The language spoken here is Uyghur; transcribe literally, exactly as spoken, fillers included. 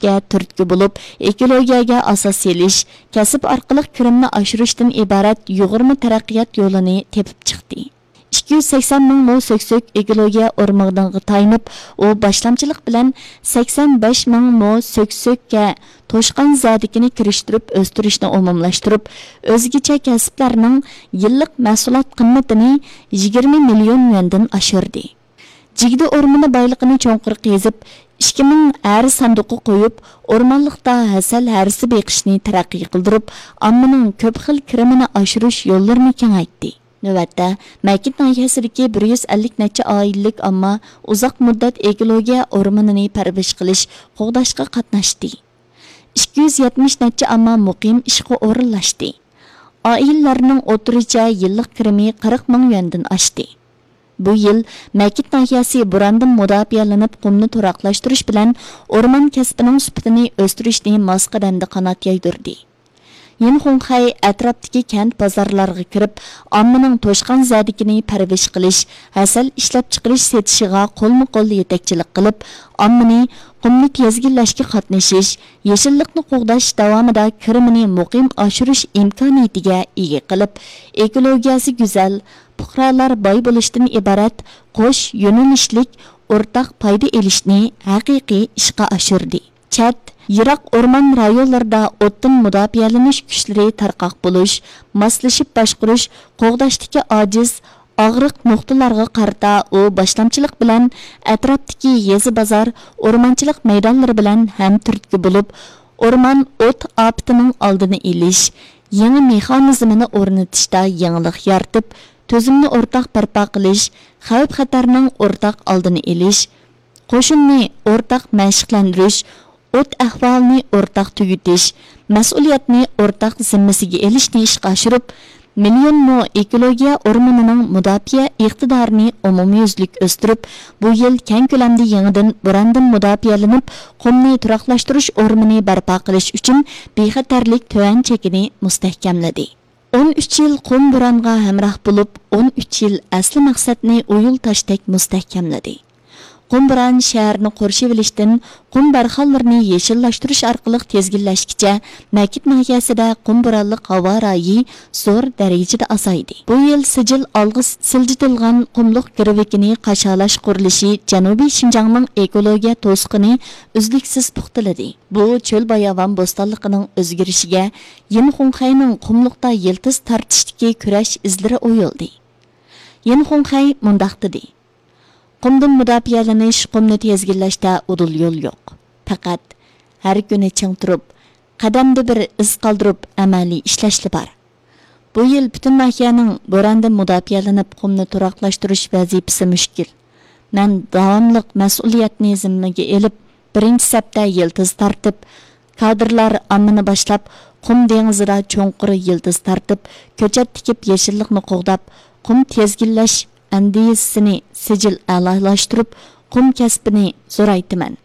تۈرتكە بولۇپ، ئېكولوگىيەگە ئاساس سېلىش، كەسىپ ئارقىلىق كىرىمنى ئاشۇرۇشتىن ئىبارەت يۇغۇرما تەرەققىيات يولىنى تېپىپ چىقتى. ئىككى يۈز سەكسەن مىڭ مو سۆكسۆك ئېكولوگىيە ئورمىغىنىغا تايىنىپ، ئۇ باشلامچىلىق بىلەن سەكسەن بەش مىڭ مو سۆكسۆككە توشقان زەدىكىنى كىرىشتۈرۈپ ئۆستۈرۈشنى ئومۇملاشتۇرۇپ، ئۆزگىچە كەسىپلەرنىڭ يىللىق مەھسۇلات قىممىتىنى يىگىرمە مىليون يۈەندىن ئاشۇردى. جىگدە ئورمىنى بايلىقىنى چوڭقۇر قېزىپ، ئىككى مىڭ ھەر ساندۇققا قويۇپ، ئورمانلىقتا ھەسەل ھەرىسى بېقىشنى تەرەققىي قىلدۇرۇپ، ئاممىنىڭ كۆپ خىل كىرىمىنى ئاشۇرۇش يوللىرىنى كېڭەيتتى. نۆۋەتتە، مەكىت ناھىيەسىدىكى بىر يۈز ئەللىك نەچچە ئائىلىلىك ئامما ئۇزاق مۇددەت ئېكولوگىيە ئورمىنىنى پەرۋىش قىلىش، قوغداشقا قاتناشتى. ئىككى يۈز يەتمىش نەچچە ئامما مۇقىم ئىشقا ئورۇنلاشتى. ئائىلىلەرنىڭ ئوتتۇرىچە يىللىق كىرىمى قىرىق مىڭ يۈەندىن ئاشتى. بۇ يىل مەكىت ناھىيەسى بوراندىن مۇداپىئەلىنىپ، قۇمنى تۇراقلاشتۇرۇش بىلەن ئورمان كەسپىنىڭ سۈپىتىنى ئۆستۈرۈشنى ماس قەدەمدە قانات يايدۇردى. يىنخۇڭخەي ئەتراپتىكى كەنت بازارلارغا كىرىپ، ئاممىنىڭ توشقان زەدىكىنى پەرۋىش قىلىش، ھەسەل ئىشلەپچىقىرىش سېتىشىغا قولمۇ قول يېتەكچىلىك قىلىپ، ئاممىنى قۇمنى تىزگىنلەشكە قاتنىشىش، يېشىللىقنى قوغداش داۋامىدا كىرىمىنى مۇقىم ئاشۇرۇش ئىمكانىيىتىگە ئىگە قىلىپ، ئېكولوگىيەسى گۈزەل، پۇقرالار باي بولۇشتىن ئىبارەت قوش يۆنىلىشلىك ئورتاق پايدا ئېلىشنى ھەقىقىي ئىشقا ئاشۇردى. چەت، يىراق ئورمان رايونلىرىدا ئوتتىن مۇداپىئەلىنىش كۈچلىرى تارقاق بولۇش، ماسلىشىپ باشقۇرۇش، قوغداشتىكى ئاجىز، ئاغرىق نۇقتىلارغا قارىتا ئۇ باشلامچىلىق بىلەن ئەتراپتىكى يېزا بازار، ئورمانچىلىق مەيدانلىرى بىلەن ھەمتۈرتكە بولۇپ، ئورمان ئوت ئاپىتىنىڭ ئالدىنى ئېلىش، يېڭى مېخانىزمىنى ئورنىتىشتا يېڭىلىق يارىتىپ، تۈزۈمنى ئورتاق بەرپا قىلىش، خەۋپ خەتەرنىڭ ئورتاق ئالدىنى ئېلىش، قوشۇننى ئورتاق مەشىقلەندۈرۈش، ئوت ئەھۋالىنى ئورتاق تۈگىتىش، مەسئۇلىيەتنى ئورتاق زىممىسىگە ئېلىشنى ئىشقا ئاشۇرۇپ، مىليون مو ئېكولوگىيە ئورمىنىنىڭ مۇداپىئە ئىقتىدارىنى ئومۇميۈزلۈك ئۆستۈرۈپ، بۇ يىل كەڭ كۆلەمدە يېڭىدىن بوراندىن مۇداپىئەلىنىپ، قۇمنى تۇراقلاشتۇرۇش ئورمىنى بەرپا قىلىش ئۈچۈن بىخەتەرلىك تۆۋەن چېكىنى مۇستەھكەملىدى. ئون ئۈچ يىل قۇم بورانغا ھەمراھ بولۇپ، ئون ئۈچ يىل ئەسلى مەقسەتنى ئويۇل تاشتەك مۇستەھكەملىدى. قۇم بوران شەھەرنى قورشىۋېلىشتىن قۇم بارخانلىرىنى يېشىللاشتۇرۇش ئارقىلىق تىزگىنلەشكىچە، مەكىت ناھىيەسىدە قۇم بورانلىق ھاۋا رايى زور دەرىجىدە ئازايدى. بۇ يىل سىجىل ئالغا سىلجىتىلغان قۇملۇق گىرۋىكىنى قاشالاش قۇرۇلۇشى جەنۇبىي شىنجاڭنىڭ ئېكولوگىيە توسۇقىنى ئۈزلۈكسىز پۇختىلىدى. بۇ چۆل باياۋان بوستانلىقىنىڭ ئۆزگىرىشىگە يىنخۇڭخەينىڭ قۇملۇقتا يىلتىز تارتىشتىكى كۈرەش ئىزلىرى ئويۇلدى. يىنخۇڭخەي مۇنداق دېدى: قۇمدىن مۇداپىئەلىنىش، قۇمنى تىزگىنلەشتە ئۇدۇل يول يوق. پەقەت ھەر كۈنى چىڭ تۇرۇپ، قەدەمدە بىر ئىز قالدۇرۇپ ئەمەلىي ئىشلەشلا بار. بۇ يىل پۈتۈن ناھىيەنىڭ بوراندىن مۇداپىئەلىنىپ، قۇمنى تۇراقلاشتۇرۇش ۋەزىپىسى مۈشكۈل. مەن داۋاملىق مەسئۇلىيەتنى زىممىگە ئېلىپ، بىرىنچى سەپتە يىلتىز تارتىپ، كادىرلار ئاممىنى باشلاپ، قۇم دېڭىزىدا چوڭقۇر يىلتىز تارتىپ، كۆچەت تىكىپ، يېشىللىقنى قوغداپ، قۇم تىزگىنلەش ئەندىزىسىنى سىجىل ئەلالاشتۇرۇپ، قۇم كەسپىنى زورايتىمەن.